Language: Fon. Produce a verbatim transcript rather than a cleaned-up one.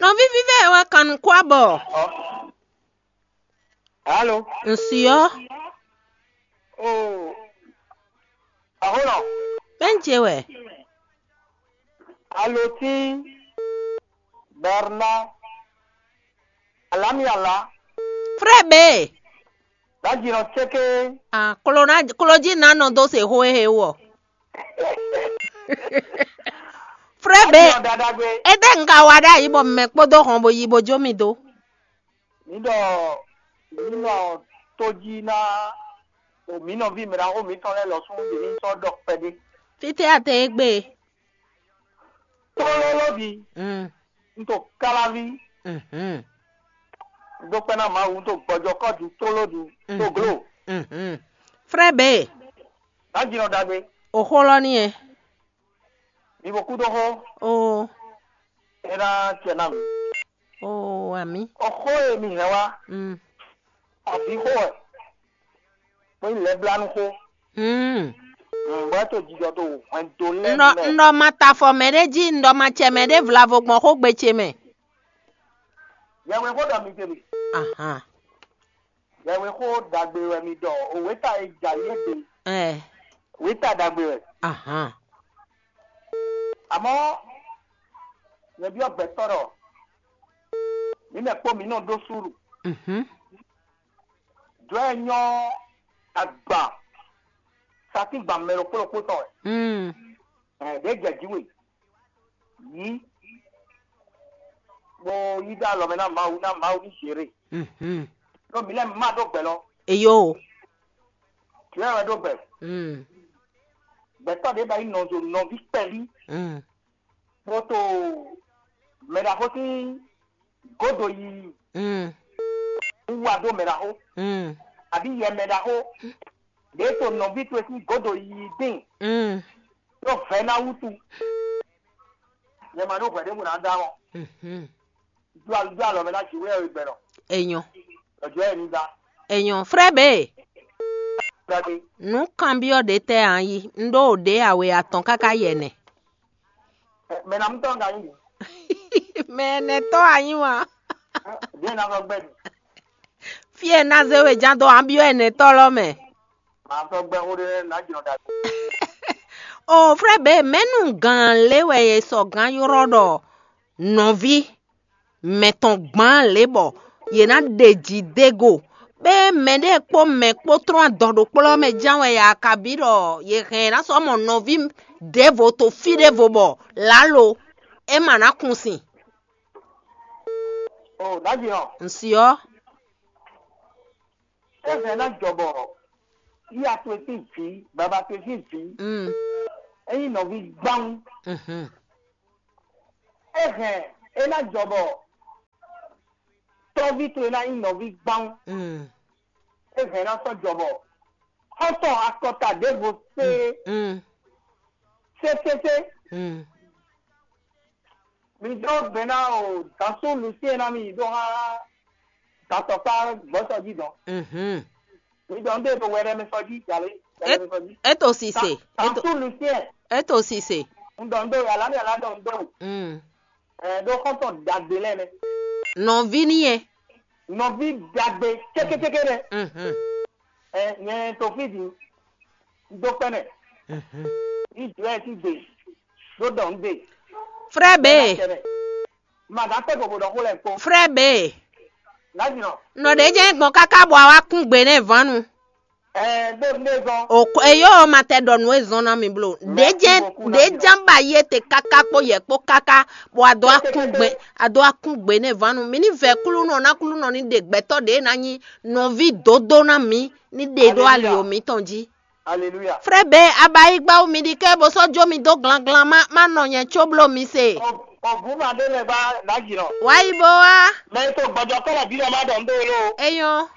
Nɔví vívɛ wɛ kan nukún abɔ. Alo. Ŋsi ɔ́. O. Aholɔ. Bɛn ce wɛ. Alo tí. Bernard. Alamiala. Frɛ be. Dajinɔ tseke. Ah, klo na klo jí na nɔ dó se xó e he wɔ. Frɛ be. Dajinɔ dadagbe. Ete nka wa ɖe ayi bɔ mɛ kpódó hɔn bo yi bo jó mi dó. Mi ɖɔ mi nɔ tó jí ná o mi nɔví mɛ ɖaxó mitɔn lɛ́ɛ lɔ sún yě ní sɔ́ ɖɔ kpɛɖé. Fítɛ́ a te égbé? Tlóló ɖi. Mm. Un to káláví. Mhm. Un dó kpɛ́ ná Mawu, un to gbɔjɔ kɔ́ ɖu tlóló ɖu. Mhm. To glo. Mhm. Frɛ be. Dajinɔ dagbe. O xó lɔ ní e. Mi bo kú dó xó. Oo. É ná acɛ ná mi. Oo, amǐ. O xó e mi hɛn wá. Mm. Avǐ xó wɛ. Kpé lɛblánú xó. Mm. Nǔgbɛ́ to jijɔ to hwɛndo lɛ́ɛ Ŋɖɔ mɛ. Ŋɖɔ ma ta afɔ mɛ ɖé jí, ŋɖɔ ma cɛ mɛ ɖé vlavo gbɔn xógbe ce mɛ. Yɛhwe xó ɖɔ mi te mi. Ahan. Yɛhwe xó ɖagbe wɛ mi ɖɔ. O wěta e ja yé gbe. Ɛ. Wěta ɖagbe wɛ. Ahan. Àmọ́ nyɛ byɔ́ gbɛtɔ́ ɖɔ mǐ mɛ kpó mǐ nɔ ɖó súlu. Mhm. Jɔ̌ e nyɔ́ agban satín gban mɛ ɖokpó ɖokpó tɔn wɛ. Mm. Ɛ, ɖě jɛ jí we. Yí. Bó yí dó alɔ mɛ ná Mawu, ná Mawu ní zěre. Mhm. Ɖó mǐ lɛ́ má ɖó gbɛ lɔ. Eyo. Jɔ̌ e wɛ ɖó gbɛ. Mm. Gbɛtɔ́ ɖě ba nyí nɔzo nɔví kpɛví. Mm. Bó to mɛ ɖaxó sín gǒdo yiyi Mm. wú wa dó mɛ ɖaxó, Mm. abǐ yɛ mɛ ɖaxó ɖě to nɔví towe sín gǒdo yiyi dín Mm. ɖó vɛ̌ ná wútu. Nyɛ ma ɖó hwɛ̌ ɖěbǔ ná dó amɔ. Mhm. Dó al- dó alɔ mɛ ná jǐ wé ɔ́ gbɛnɔ. Enyɔ. Ɖɔ̌jɔ́ ɛ ní dá. Enyɔ. Frɛ be. Gbadé. Nǔ kanbyɔ́ ɖě tɛ́ a yí? Un ɖó ɖě awe atɔn káká yɛ nɛ. Mɛ ná mú tɔn ka nyí. Mɛ ɛnɛtɔ́ a nyí wa? Bien ná sɔ́ gbɛ. Fí e ná zé we ján dó a byɔ́ ɛnɛtɔ́ lɔ mɛ. Màá sɔ́ gbɛ xó ɖé ná jlɔ́ ɖagbe. O frɛ be mɛnu gán lé wɛ e sɔ gán ylɔ́ ɖɔ nɔví mɛ tɔn gbán lě bɔ yě ná ɖe jǐ dó e go. Bɛ́ mɛɖée kpó mɛ kpó tlɔ́n adɔ ɖokplɔ́ mɛ ján wɛ ya kabí ɖɔ yě hɛn ná sɔ́ mɔ nɔví ɖěvo to fí ɖěvo bɔ lǎlo é ma ná kun sin. O ɖaji ɔ. Ŋsi ɔ́. É hɛn ná jɔ bɔ yíya towe sín vǐ, baba towe sín vǐ, Mm. é nyí nɔví gbáwún. Mhm. É hɛn é ná jɔ bɔ tɔ́ví towe ná nyí nɔví gbáwún. Mm. É hɛn ná sɔ́ jɔ bɔ xɔ́ntɔn akɔta ɖěvo sé Mm. sétésé. Mm. Mi dó gbe ná o dansó Lucien ná mi yi dó há datɔkpá gbɔsɔ jí dɔn. Mhm. Mi dɔn dé to wɛrɛ mi sɔ jí jalè wɛrɛ mi sɔ jí. Eto sise. Dansó Lucien. Eto sise. Un dɔn dó yàrá mi yàrá dɔn dó. Mm. Ɛ dó xɔntɔn dagbe lɛ nɛ. Nɔvi ni yɛ. Nɔvi dagbe tsékétséké nɛ. Mhm. Ɛ nyɛ to fi di. Dó kpɛnɛ. Mhm. Israel ti gbe. Dó dɔn gbe. Frɛ be. Màgá tẹ́ gbogbo ɖɔ xó lɛ kpó. Frɛ be. Láti nɔ. Nɔ ɖe jẹ́ gbɔn káká bɔ a wá kún gbe nɛ vanu. Ɛ dó ne zɔn. O ko eyo ma tɛ ɖɔ nǔ e zɔn na mi blo. Ɖe jẹ́ ɖe jẹ́ ba ye te káká kpó yɛ kpó káká bɔ a dó akún gbe a dó akún gbe nɛ vanu. Mi ní vɛ kúlúnɔ ná kúlúnɔ ní ɖe gbɛtɔ ɖe ná nyí nɔví dódó ná mi ní ɖe ɖó ali o mitɔn jí. Aleluya. Frɛ be abayigba mi ɖi ke bo sɔ jo mi do glanglan ma ma nɔ nyɛ tso blo mi se. Ɔbu ma ɖe lɛ ba lajinɔ. Wa yi bo wa. Mɛ to gbɔjɔ kɔlɔ bi lɛ ma dɔn do lo. Eyɔn.